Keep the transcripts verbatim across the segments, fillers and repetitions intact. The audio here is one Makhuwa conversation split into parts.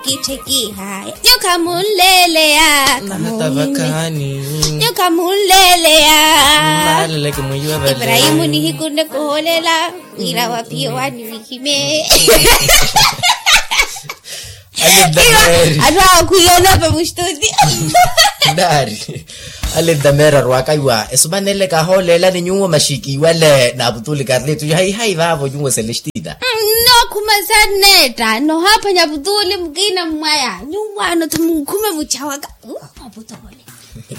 Kitthe kihaya nyukha munleleya. Nahata vakhaani. Nyukha munleleya. Maaleleke mwiiwe vale. Ibrahimu nihiku nne kuhoolela wira waphiye waani wihime. Atthu awo khwiiyonopa mustuti. Naari ale ntameera arwaka iwa esumanele kahoolela ni nyuwo maxiki iwale na aputuli karlitu hayi hayi vaavo nyuwo celestina. Nnokhuma sa nneetta nohaaphwanya aputuli mukina mmwaya nyuwo ano tho munkhume muchawaka. Aputuli.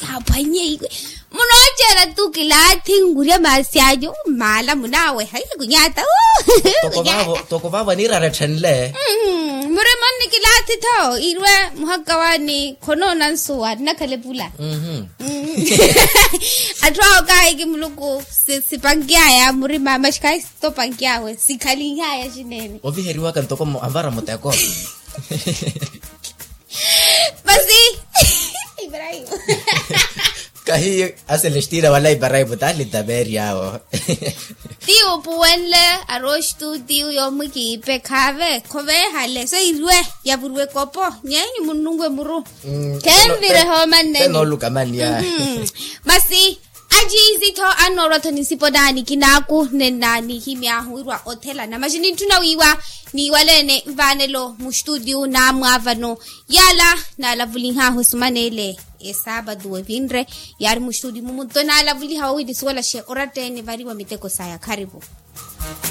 Kaaphwanye iwe munooceela tu kilaathi nkurya maasi anyu mmaala munaaweha iye kunyaata. Toko vaavo aniirara etthenle. Murima nni kilaathi tho irwe muhakka waani khonoona nsuwa nnakhale pula. Atthu awo kaahiki muluku sipankyaya murima maxi kaahiki sitopankyaawe sikhalinhaya xinene. Oviheriwaka ntoko anvara muteko. Masi ibrahimu. Kahiyo aselestina wala ibrahimu taali tameeri awo. Ti upuwenle arooxtu ti uyo mwikiipe khaave khoveehale so irwe. Yavuriwe kopo nyenyu munnunwe muru. Khenvire hoomanneni. Masi aciizi-tho annoorwa-tho ni nsipo naani kinaaku nennaani himyaahu wirwa othelana maxi nintthuna wiiwa niiwaleene nvaanelo muxtutiyu naamwaavano. Yaala naalavulinhaahu esuman'ele esaapatu evinre yaari muxtutiyu mumutto naalavuliha wowi nisuwelaxe oratta-ene variwa miteko saya kharipu.